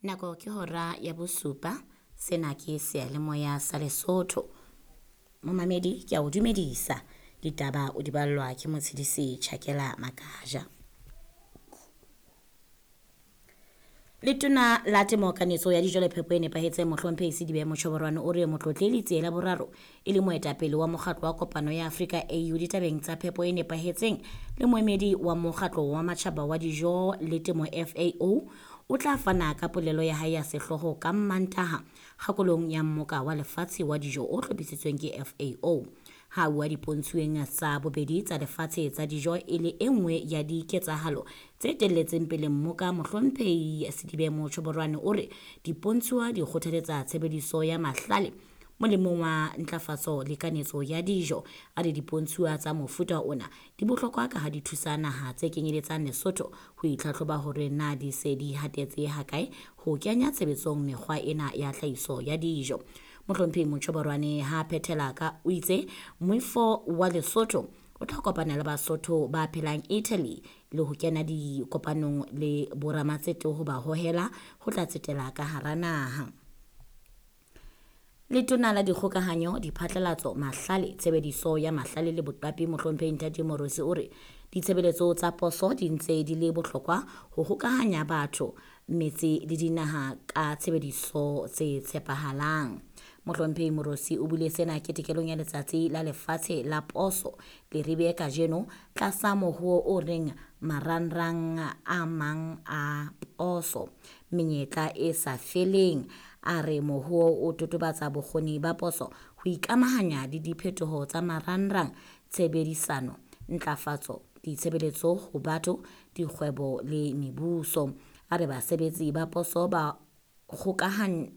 Nako ke hora ya bosupa. Sena ke seyalemoya sa Lesotho. Momamedi ke a o dumedisa. Ditaba o di ballwa ke Motshedisi Chakela Makaja. Letona la Temo Kanetso ya Dijo le Phepo e Nepahetseng Mohlomphehi Sidibe Mochoborwane o re Motlotle Letsie la Boraro e le moetapele wa mokgatlo wa Kopano ya Afrika AU ditabeng tsa phepo e nepahetseng le moemedi wa mokgatlo wa matjhaba wa dijo le temo FAO o tla fana ka polelo ya hae ya sehlooho ka Mmantaha kgakolong ya mmoka wa lefatshe wa dijo o hlophisitsweng ke FAO. Ha a bua dipontshuweng tsa bobedi tsa lefatshe tsa dijo e le e nngwe ya diketsahalo tse telletseng pele mmoka, Mohlomphehi Sidibe Mochoborwane o re dipontshuwa di kgothaletsa tshebediso ya mahlale molemong wa ntlafatso le kanetso ya dijo. A re dipontshuwa tsa mofuta ona di bohlokwa ka ha di thusa naha tse kenyeletsang Lesotho ho itlhatlhoba hore na di se di hatetse hakae ho kenya tshebetsong mekgwa ena ya tlhahiso ya dijo. Mohlomphehi Mochoborwane ha phethela ka o itse moifo wa Lesotho o tla kopana le Basotho ba phelang Italy le ho kena dikopanong le boramatsete ho ba hohela ho tla tsetela ka hara naha. Letona la Dikgokahanyo, Diphatlalatso, Mahlale, Tshebediso ya Mahlale le Boqapi Mohlomphehi Ntate Morosi o re ditshebeletso tsa poso di ntse di le bohlokwa ho hokahanya batho, metse le dinaha ka tshebediso tse tshepahalang. Mohlomphehi Morosi o buile sena ketekelong ya Letsatsi la Lefatshe la Poso Leribe kajeno tlasa mohoo o reng marangrang a mang a poso menyetla e sa feleng. A re mohoo o totobatsa bokgoni ba poso ho ikamahanya le diphetoho tsa marangrang, tshebedisano, ntlafatso, ditshebeletso ho batho, dikgwebo le mebuso. A re basebetsi ba poso ba kgokahan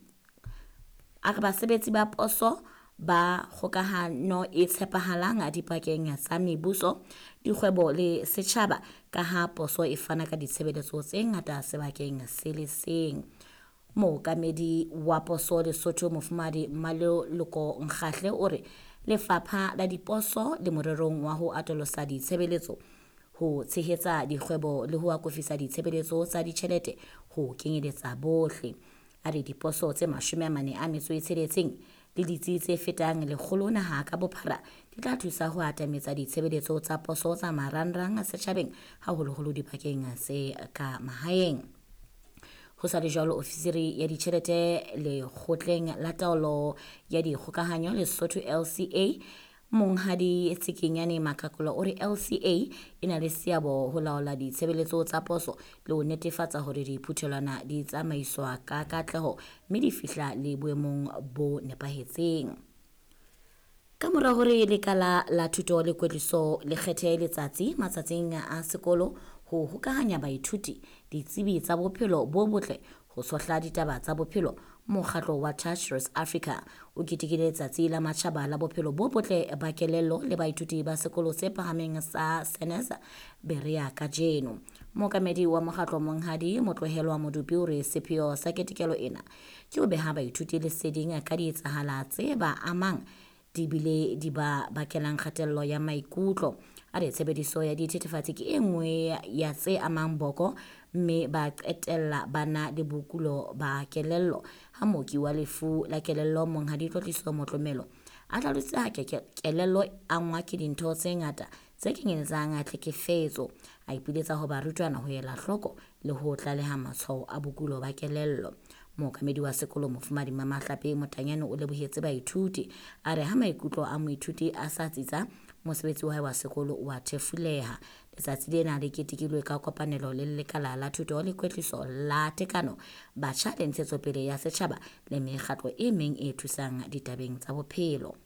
a re basebetsi ba poso ba kgokahano e tshepahalang dipakeng tsa mebuso, dikgwebo le setjhaba ka ha poso e fana ka ditshebeletso tse ngata sebakeng se le seng. Mookamedi wa poso Lesotho Mofumahadi Mmaloloko Nkgahle o re lefapha la diposo le morerong wa ho atolosa ditshebeletso ho tshehetsa dikgwebo le ho akofisa ditshebeletso tsa ditjhelete ho kenyeletsa bohle. A re diposo tse 46 le ditsi tse fetang 100 naha ka bophara di tla thusa ho atametsa ditshebeletso tsa poso tsa marangrang setjhabeng haholoholo dibakeng tse ka mahaeng. Ho sa le jwalo, ofisiri ya ditjhelete lekgotleng la taolo ya dikgokahanyo Lesotho LCA Monghadi Tsikinyane Makakolo o re LCA e na le seabo ho laola ditshebeletso tsa poso le ho netefatsa hore diphuthelwana di tsamaiswa ka katleho mme di fihla le boemong bo nepahetseng. Ka mora hore lekala la thuto le kwetliso le kgethe letsatsi matsatsing a sekolo ho hokahanya baithuti, ditsebi tsa bophelo bo botle ho tshohla ditaba tsa bophelo, mokgatlo wa Touch Roots Africa o ketekile letsatsi la matjhaba la bophelo bo botle ba kelello le baithuti ba sekolo se phahameng sa Senesa Berea kajeno. Mookamedi wa mokgatlo Monghadi Motlohelwa Modupi o re sepheo sa ketekelo ena ke ho beha baithuti leseding ka dietsahala tse ba amang di bile di ba bakelang kgatello ya maikutlo. A re tshebediso ya dithethefatsi ke e nngwe ya tse amang boko mme ba qetella ba na le bokulo ba kelello. Ha mooki wa lefu la kelello Monghadi Tlotliso Motlomelo a hlalositse ha kelello e angwa ke dintho tse ngata tse kenyeletsang tlhekefetso. A ipiletsa ho barutwana ho ela hloko le ho tlaleha matshwao a bokulo ba kelello. Mookamedi wa sekolo Mofumahadi Mamahlape Motanyane o lebohetse baithuti. A re ha maikutlo a moithuti a sa tsitsa, mosebetsi wa hae wa sekolo o a thefuleha. Letsatsi lena le ketekilwe ka kopanelo le lekala la thuto le kwetliso la tekano, batjha le ntshetsopele ya setjhaba le mekgatlo e meng e thusang ditabeng tsa bophelo.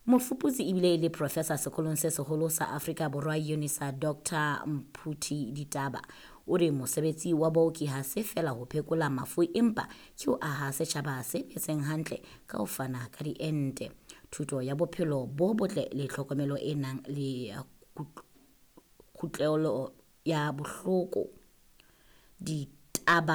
Mofuputsi ebile e le professor sekolong se seholo sa Afrika Borwa UNISA Dr Mphuthi Ditaba o re mosebetsi wa baoki ha se feela ho phekola mafu empa ke ho aha setjhaba se phetseng hantle ka ho fana ka diente, thuto ya bophelo bo botle le tlhokomelo e nang le kutlwelo ya bohloko. Ditaba.